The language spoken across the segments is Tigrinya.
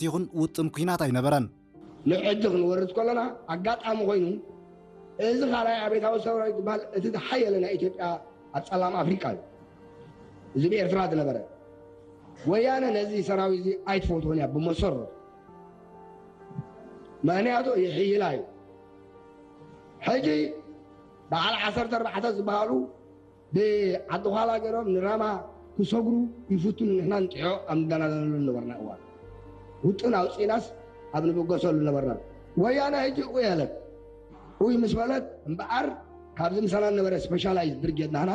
ይኹን ውጥን ኲናት ኣይነበረን። ንዕዲ ክንወርድ ከለና ኣጋጣሚ ኮይኑ፣ እዚ ካልኣይ ኣብዮታዊ ሰራዊት ዝበሃል እቲ ዝሓየለ ናይ ኢትዮጵያ ኣብ ጸላም ኣፍሪቃ እዩ። እዚ ብኤርትራ ዝነበረ። ወያነ ነዚ ሰራዊት እዚ ኣይትፈትዎን እያ ብመሰረቱ። ምኽንያቱ ይሕይላ እዩ። ሕጂ በዓል ዓሰርተ ኣርባዕተ ዝበሃሉ ብዓዲ ዃላ ገይሮም ንራማ ክሰግሩ ይፍትኑ፣ ንሕና ንጥዖ ኣብ ንደናደነሉ ነበርና እዋን። ውጥን ኣውፂእናስ ኣብ ንብገሰሉ ነበርና። ወያነ ሕጂ ኡይ ኣለት። ኡይ ምስ በለት እምበኣር ካብዚ ምሳና ነበረ ስፔሻላይዝ ብርጌድ ናህና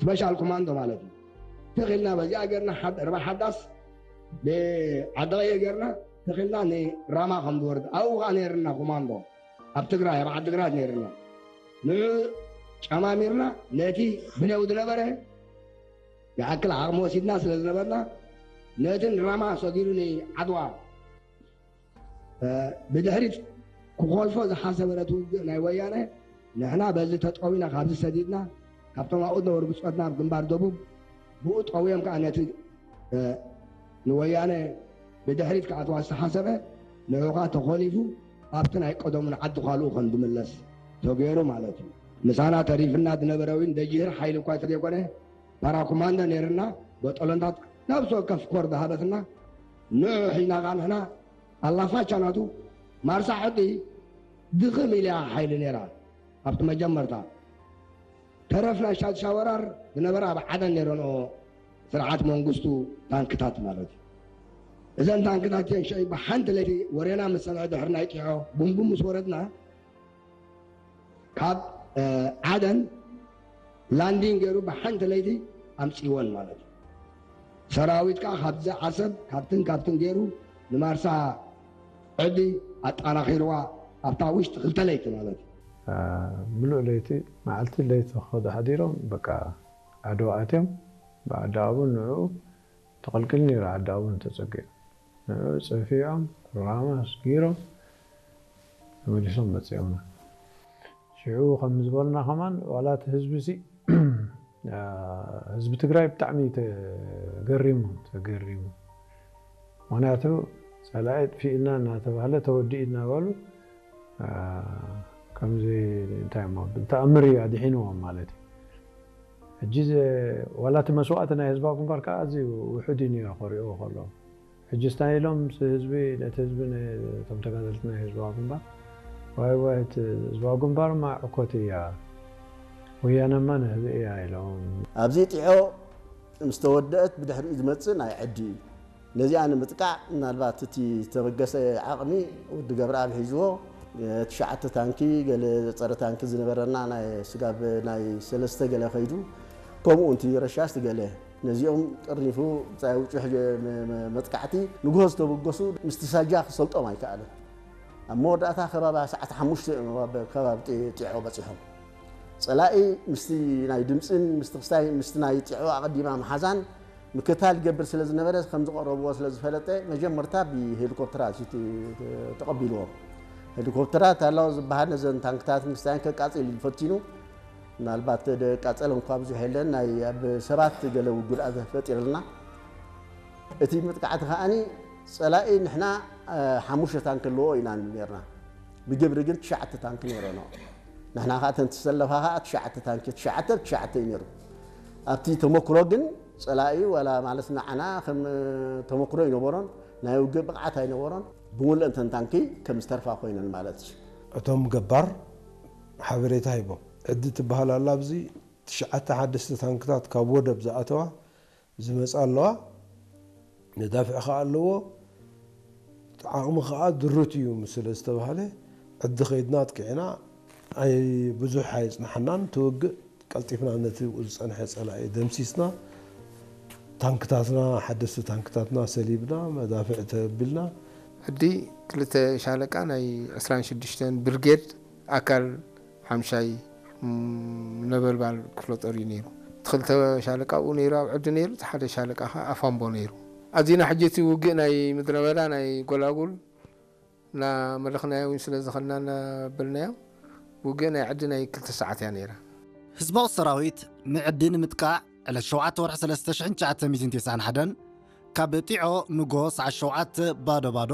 ስፔሻል ኮማንዶ ማለት እዩ። ተኺልና በዚኣ ገርና ሓድ-፣ ርባ ሓዳስ ብዓዲ ቀየ ገርና ተኺልና ንራማ ከም ዝወርድ ኣብኡ ከዓ ነይርና ኮማንዶ ኣብ ትግራይ ኣብ ዓዲግራት ነይርና። ንዑ ጨማሚርና ነቲ ብኔው ዝነበረ ይኣክል ዓቕሚ ወሲድና ስለ ዝነበርና ነቲ ንራማ ሰጊሩ ንዓድዋ እ፣ ብድሕሪት ክኾልፎ ዝሓሰበ ነቲ ውግእ ናይ ወያነ ንሕና በዚ ተጠዊና ካብዚ ሰዲድና ካብቶም ኣብኡ ዝነበሩ ብጾትና ኣብ ግንባር ደቡብ ብኡ ጠውዮም ከዓ ነቲ እ፣ ንወያነ ብድሕሪት ክኣትዋ ዝተሓሰበ ንዑ ከዓ ተኾሊፉ ኣብቲ ናይ ቀደሙ ንዓዲ ካልኡ ከም ዝምለስ ተገይሩ ማለት እዩ። ምሳና ተሪፍና ዝነበረ እውን ደጅህር ሓይሊ እኳ እንተዘይኮነ ፓራኮማንዶ ነይርና በጠሎንታት ነብሲ ወከፍ ኮር ዝሃበትና ንዑ ሒዝና ከዓ ንሕና ኣላፋቻ ናቱ ማርሳ ሕዲ ድኽም ኢልያ ሓይሊ ነይራ ኣብቲ መጀመርታ ተረፍ ናይ ሻድሻ ወራር ዝነበረ ኣብ ዓደን ነይረንኦ ስርዓት መንግስቱ ታንክታት ማለት እዩ። እዘን ታንክታት እተን ሸይ ብሓንቲ ለይቲ ወሬና ምስ ሰምዐ ድሕሪ ናይ ጢዖ ቡምቡ ምስ ወረድና ካብ እ፣ ዓደን ላንዲን ገይሩ ብሓንቲ ለይቲ ኣምፅወን ማለት እዩ። ሰራዊት ከዓ ካብዚ ዓሰብ ካብትን ካብትን ገይሩ ንማርሳ ዕዲ ኣጣናኺርዋ ኣብታ ውሽጢ ክልተ ለይቲ ማለት እዩ። ምሉእ ለይቲ መዓልቲ ለይቲ ክኸዱ ሓዲሮም በቃ ዓድዋ ኣትዮም ብዓዲ ኣቡን ንዕኡ ተቐልቅል ነይሩ ዓዲ ኣቡን ተፀጊዑ ንዕኡ ፀፊዖም ራማ ስጊሮም ተመሊሶም መፂኦምና ሽዑ ከም ዝበልና ከማን ዋላ እቲ ህዝቢ ሲ ህዝቢ ትግራይ ብጣዕሚ ተገሪሙ ተገሪሙ ምክንያቱ ፀላኢ ጥፊእና እናተባህለ ተወዲኡ እናበሉ ከምዚ እንታይ ሞ ብተኣምር እዩ ኣድሒንዎም ማለት እዩ ሕጂ ዋላ እቲ መስዋእቲ ናይ ህዝባዊ ግንባር ከዓ ኣዝዩ ውሑድ እዩ ነይሩ ክሪኦ ከሎ ሕጂ ስታይ ኢሎም ህዝቢ ነቲ ህዝቢ እቶም ተጋደልቲ ናይ ህዝባዊ ግንባር ዋይ ዋይ እቲ ህዝባዊ ግንባር ማ ዕኮት እያ ወያነማ ንህቢ እያ ኢሎም ኣብዚ ጢዖ ምስ ተወደአት ብድሕሪኡ ዝመፅእ ናይ ዕዲ እዩ ነዚኣ ንምጥቃዕ ምናልባት እቲ ተበገሰ ዓቕሚ ወዲ ገብረኣብ ሒዝዎ ትሽዓተ ታንኪ ገለ ፀረ ታንኪ ዝነበረና ናይ ስጋብ ናይ ሰለስተ ገለ ከይዱ ከምኡ እቲ ረሻሽ ትገለ ነዚኦም ጠርኒፉ ብፃይ ውጩሕ መጥቃዕቲ ንግሆ ዝተበገሱ ምስቲ ሳጃ ክሰልጦም ኣይከኣለን ኣብ መወዳእታ ከባቢ ሰዓት ሓሙሽተ እዮም ኣብ ከባቢ ጢዖ በፂሖም ፀላኢ ምስቲ ናይ ድምፅን ምስቲ ክስታይ ምስቲ ናይ ጢዖ ኣቐዲማ መሓዛን ምክታል ይገብር ስለ ዝነበረ ከም ዝቐረብዎ ስለ ዝፈለጠ መጀመርታ ብሄሊኮፕተራት እዩ ተቐቢልዎም ሄሊኮፕተራት ኣለዎ ዝበሃል ነዘን ታንክታት ምስታይን ከቃፅል እዩ ፈቲኑ ምናልባት ደቃፀለ እንኳ ብዙሕ የለን ናይ ኣብ ሰባት ገለ ጉድኣት ፈጢርልና እቲ መጥቃዕቲ ከዓኒ ፀላኢ ንሕና ሓሙሽተ ታንክ ኣለዎ ኢና ነርና ብግብሪ ግን ትሽዓተ ታንክ ነይረኖ ንሕና ከዓ ተን ትሰለፋ ከዓ ትሽዓተ ታንክ ትሽዓተ ትሽዓተ እዩ ነይሩ ኣብቲ ተመክሮ ግን ፀላኢ ዋላ ማለት ንዓና ከም ተመክሮ ኣይነበሮን ናይ ውግእ ብቕዓት ኣይነበሮን ብምሉእ እንተን ታንኪ ከም ዝተርፋ ኮይነን ማለት እዩ እቶም ገባር ሓበሬታ ሂቦም ዕዲ ትበሃል ኣላ ኣብዚ ትሽዓተ ሓደስቲ ታንክታት ካብ ወደብ ዝኣተዋ ዝመፃ ኣለዋ መዳፍዕ ከዓ ኣለዎ ዓቕሚ ከዓ ድሩት እዩ ስለ ዝተባሃለ ዕዲ ከይድና ኣጥቂዕና ኣይ ብዙሕ ኣይፅናሓናን ትውግእ ቀልጢፍና ነቲ ዝፀንሐ ፀላኢ ደምሲስና ታንክታትና ሓደስቲ ታንክታትና ሰሊብና መዳፍዕ ተቢልና ዕዲ ክልተ ሻለቃ ናይ ዕስራን ሽዱሽተን ብርጌድ ኣካል ሓምሻይ ነበልባል ክፍለ ጦር እዩ ነይሩ። እቲ ክልተ ሻለቃ ኣብኡ ነይሩ ኣብ ዕዲ ነይሩ፣ እቲ ሓደ ሻለቃ ከዓ ኣፋምቦ ነይሩ። ኣዚና ሕጂ እቲ ውግእ ናይ ምድረ በዳ ናይ ጎላጉል እናመለኽናዮ እውን ስለ ዝኸድና እናበልናዮ ውግእ ናይ ዕዲ ናይ ክልተ ሰዓት እያ ነይራ። ህዝባዊ ሰራዊት ንዕዲ ንምጥቃዕ ዕለት ሸውዓተ ወርሒ ሰለስተ ሽሕን ትሽዓተ ሚእትን ተስዓን ሓደን ካብ ጢዖ ንጎ ሰዓት ሸውዓተ ባዶ ባዶ